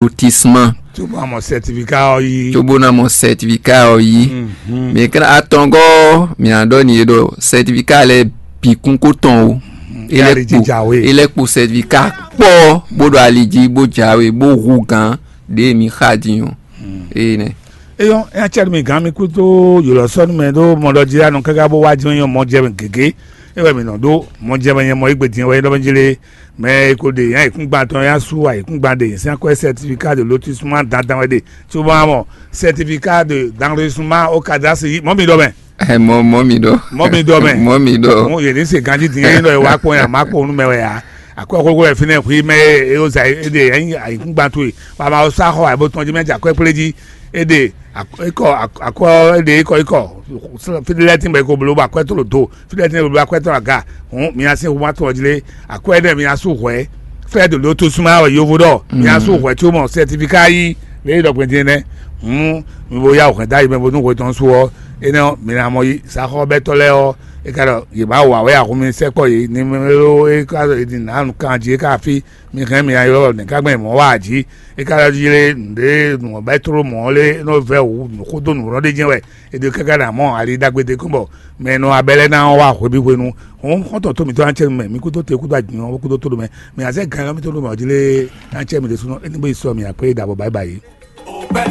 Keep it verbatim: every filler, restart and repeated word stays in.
Lotissement. Cóbó ná mɔ certificat ɔ́ yí. Cóbó ná mɔ certificat ɔ́ yí. Mɛ kɛ́n atɔngɔ́ mǐ ná ɖɔ n'i ɖɔ certificat lɛ́ɛ bǐ kún kó tɔn o. É lɛ́ kpo é lɛ́ kpo certificat kpɔ́ bó ɖo ali jí bó jǎwe bó hu gǎn ɖě mǐ xa din ɔ́. Ée nɛ́. Eyɔn, nya cɛ mi gán mi kú tó yǒlɔ sɔ́ nú mɛ ɖó mɔ ɖɔ jí anɔ káká bó wá jɛ́n nyɔ mɔ jɛ mɛ gěgé. É wɛ mǐ nɔ ɖó mɔ jɛ mɛ nyɛ mɔ égbé din wɛ é nɔ mɛ jí lé. Mɛ e ko ɖe nya yěkúngban tɔn ya sú ayǐkúngban ɖe sín akwɛ́ certificat de lotissement dandan wɛ ɖe. Cóbɔ mɔ certificat de d'enregistrement au cadastre yí mɔ mi ɖɔ mɛ. Ɛ mɔ mɔ mi ɖɔ. Mɔ mi ɖɔ mɛ. Mɔ mi ɖɔ. Mo yě ní se ganjí dín é nɔ wá kpɔn ya má kpɔn nú mɛ wɛ ya. Akwɛ́ xóxó wɛ fínɛ́ xwí mɛ e ó zà é ɖe é nyí ayǐkúngban towe. Wà má ó sá xɔ àbó tɔn jí mɛ jɛ akwɛ́ kplé jí. É ɖe akɔ akɔ é ɖe ikɔ ikɔ. Fíɖélɛ́tín bɔ é ko bló bɔ akwɛ́ tó lò do. Fíɖélɛ́tín bɔ akwɛ́ tó lò aga. Hǔn mi ná sín hu má tɔn jí lé. Akwɛ́ énɛ́ mi ná sú hwɛ̌. Fɛ́ ɖo lǒ tó súnmá wɛ yovo ɖɔ mi ná sú hwɛ̌ có mɔ sɛtifika yí lě e ɖɔ gbɛn din nɛ́. Hǔn mi bo yá wǔ hɛn dó ayi mɛ bónú hwe tɔn sú ɔ́, énɛ́ ɔ́, mi ná mɔ yí. Saxɔ́bɛ́tɔ́ lɛ́ɛ ɔ́, é ka ɖɔ yě má wa wɛ ahun mi sɛkpɔ́ yě ní mɛ ɖó é ka ɖɔ yě din nǎ nǔ kan jí é ka fí. Mi hɛn mi ná ylɔ́ nɛ̌ ka gbɛn mɔ̌ wa jí? É ka ylɔ́ jí lé nǔɖé nǔ ɔ́ bɛ́ tló mɔ̌ lé nɔ vɛ́ wǔ nǔ xó dó nǔ lɔ́ ɖé jɛ́n wɛ. È ɖo káká ɖo amɔ̌ ali ɖagbe ɖé kɔn bɔ mɛ e nɔ abɛ lɛ́ɛ ná ɔ́ wá hweví hwenu. Hɔn xɔ́ntɔn tó mǐtɔn ná cɛ mɛ, mi kúdó te kúdó agbǐn ɔ́ kúdó tó ɖo mɛ. Mɛ azɛ gan ɔ́ mítɔn ɖo mɛ ɔ́ jí lé ná cɛ mì ɖésúnɔ, é ní bó yi sɔ mì akwɛ́ yi ɖo abɔ báyìí báyìí.